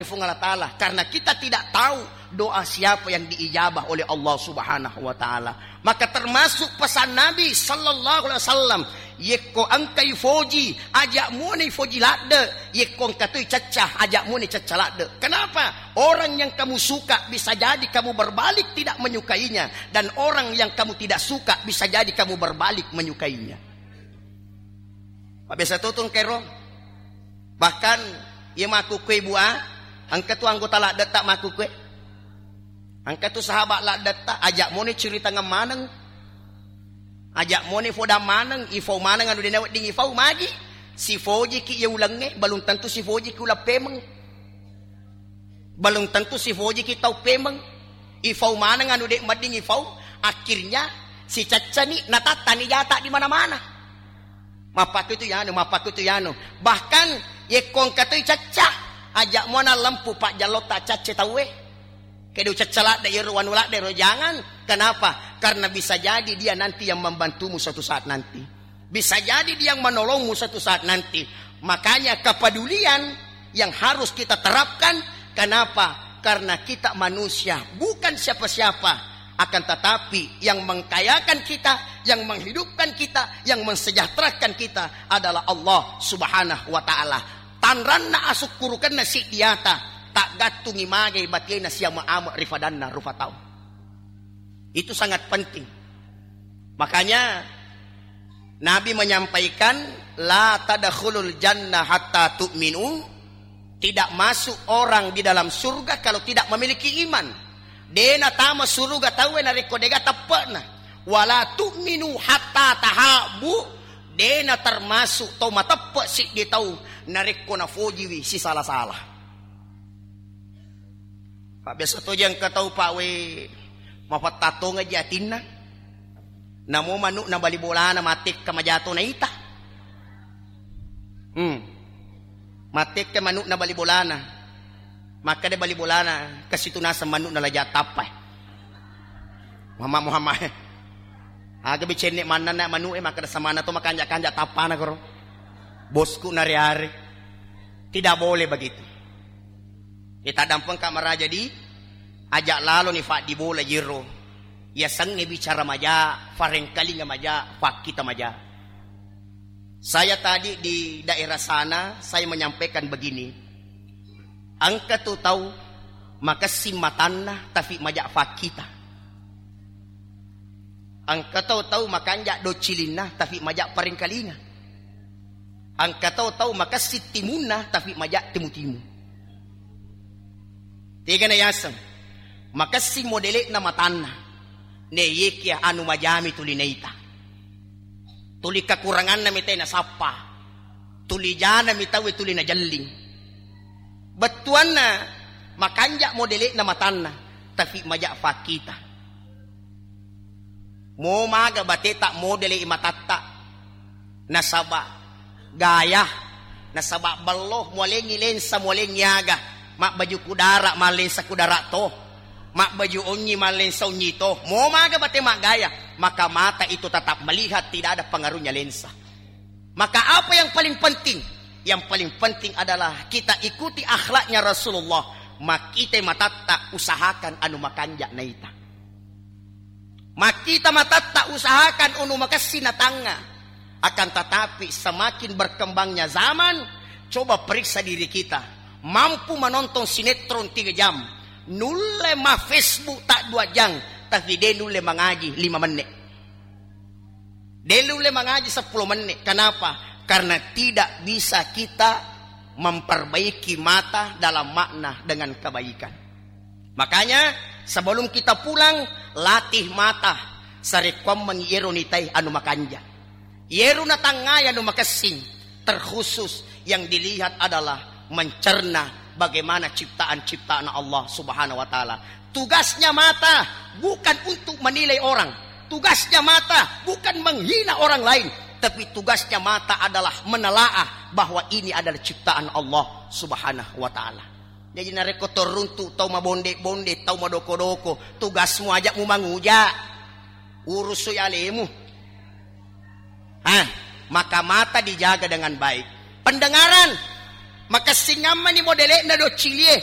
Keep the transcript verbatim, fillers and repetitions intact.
Puang Allah Ta'ala, karena kita tidak tahu doa siapa yang diijabah oleh Allah Subhanahu wa Ta'ala. Maka termasuk pesan Nabi sallallahu alaihi wasallam, yekko engkai foji, aja' moni foji ladde', yekko engka toi cacca, aja' moni cacca ladde'. Kenapa? Orang yang kamu suka bisa jadi kamu berbalik tidak menyukainya, dan orang yang kamu tidak suka bisa jadi kamu berbalik menyukainya. Mabbiasa to tu engkaero. Bahkan, iya makkukue bua, engka tu anggota ladde'ta makkukue. Engka tu sahabat ladde'ta, aja' moni curitangeng maneng. Aja' moni fodang maneng, ifau maneng anu de' nawedding ifau, magi. Sifojiki iya ulengnge, belum tentu sifojiki uleng pemeng. Belum tentu sifojiki tau pemeng. Ifau maneng anu de' wedding ifau, akhirnya sicaccani, natattani jata' di mana-mana. Mappakkutu yanu, mappakkutu yanu. Bahkan yekko engka toi cacca, aja' muana lempu pajjallotta cacce tauwe. Kedo cacca ladde' iyaro, wanu ladde' ro, jangan. Kenapa? Karena bisa jadi dia nanti yang membantumu suatu saat nanti. Bisa jadi dia yang menolongmu suatu saat nanti. Makanya kepedulian yang harus kita terapkan. Kenapa? Karena kita manusia, bukan siapa-siapa. Akan tetapi yang mengkayakan kita, yang menghidupkan kita, yang mensejahterakan kita adalah Allah Subhanahu wa Ta'ala. Tanranna asukkurukenna siddiata, taggattungi magai batena siama-ama ri fadanna rufa tau. Itu sangat penting. Makanya Nabi menyampaikan, "La tadkhulul jannah hatta tu'minu." Tidak masuk orang di dalam surga kalau tidak memiliki iman. De' natama suruga tauwe narekko de'ga teppe'na. "Wala tu'minu hatta tahabbu." De' natermasuk tau mateppe' siddi tau narekko nafojiwi sisala-sala. Pabbiasa toja engka tau, Pak, we, mafettattongeji atinna. Namo manu'na bali bolana matekka majato naita. Hmm. Matekka manu'na bali bolana. Makkeda bali bolana, kasitu naseng manu'na la ja tappai. Muhammad, Muhammad. Aga bicenne' mannanna manu'e, makkeda samana to makanja'-kanja' tappana koro. Bosku nare-are. Tidak boleh begitu. Iya taddampengka maraja di, aja' laloni faddibola jero. Yasengnge bicara maja, farengkalinga maja, fakkita maja. Saya tadi di daerah sana, saya menyampaikan begini. Engka tu tau makessing matanna, tapi maja fakkita. Engka tau, tau makanja' doccilinna, tapi maja parengkalinga. Engka tau, tau makessing timunna, tapi maja timu-timu. Tegana yaseng, makessing modele'na matanna. Ne yekia anu majami tuli naita. Tuli kakuranganna mi tau nasappa. Tuli jana mi tau tuli najelling. Bettuanna makanja' modele'na matanna, tapi maja fakkita. Mo maga bateta modele'i matatta. Nasaba gaya, nasaba bello, mualengngi lensa, mualengngi aga. Mabbaju kudara, mallensa kudara to. Mabbaju onnyi, mallensa onnyi to. Mo maga bate maggaya, maka mata itu tetap melihat, tidak ada pengaruhnya lensa. Maka apa yang paling penting? Yang paling penting adalah kita ikuti akhlaknya Rasulullah. Makkita matatta, usahakan anu makanja' naita. Makkita matatta, usahakan anu makessing natangnga. Akan tetapi semakin berkembangnya zaman, coba periksa diri kita. Mampu menonton sinetron tiga jam, nulle ma Facebook tak dua jam, tapi de' nulle mangaji lima menit. De' nulle mangaji seppulo menit. Kenapa? Karena tidak bisa kita memperbaiki mata dalam makna dengan kebaikan. Makanya, sebelum kita pulang, latih mata, sarekkuammengngi iyero nitai anu makanja'. Iyero natangngai anu makessing, terkhusus yang dilihat adalah mencerna bagaimana ciptaan-ciptaan Allah Subhanahu wa Ta'ala. Tugasnya mata bukan untuk menilai orang. Tugasnya mata bukan menghina orang lain. Tapi tugasnya mata adalah menelaah bahwa ini adalah ciptaan Allah Subhanahu wa Ta'ala. Jaji, narekko toruntu tau mabonde-bonde, tau madoko-doko, tugasmu aja' mumanguja'. Urusui alemu. Ah, maka mata dijaga dengan baik. Pendengaran, makessingammani modele'na doccilie,